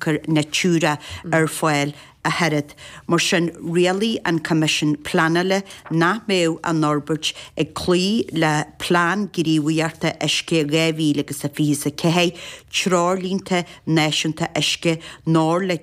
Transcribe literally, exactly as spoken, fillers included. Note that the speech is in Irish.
tionchar Natura ar fáil a thuilleadh. Mar sin rialaigh an Coimisiún Pleanála nach mbeadh an fhorbairt ag cloí le Plean Gníomhaíochta Uisce dhá mhíle agus a fiche a ceathair, treoirlínte náisiúnta uisce ná le